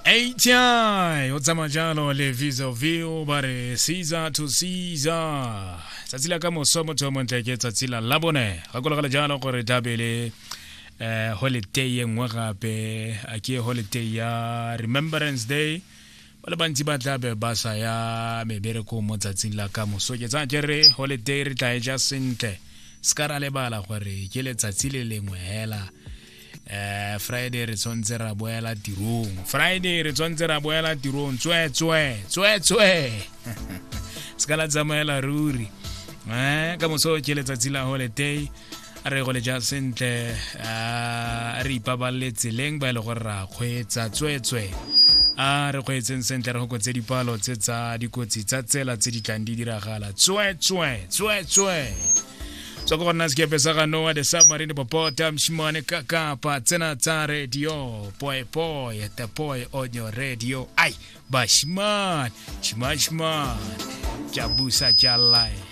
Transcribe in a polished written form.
HI o tsamaya jalo le Visa View ba re Caesar to Caesar tsatsi la ka moso motho yo montle ke tsatsi la labone gakologela jalo gore tlabe le eh holiday e nngwe gape a ke holiday ya Remembrance Day ba le bantsi ba tlabe ba sa ya meberekong mo tsatsing la ka moso ke tsaya ke re holiday re tla e ja sentle se ka ra lebala gore ke letsatsi le lengwe hela eh Friday re tshwanetse ra boela tirong, Friday re tshwanetse ra boela tirong, tswe tswe tswe tswe, se ka la tsamaela ruri. Ka moso ke letsatsi la holiday, a re go le ja sentle, a re ipabalele tseleng ba e le gore ra kgweetsa, tswe tswe a re kgweetseng sentle, re gokotse dipalo tse tsa dikotsi tsa tsela tse di tlang di diragala, tswe tswe tswe tswe. Tswa ko go nna sekepe sa ga Noah the submarine popota mshimane kakapa tsena tsa radio poe poe the poe on your radio ai bashimane shimashimane tša busa tša life.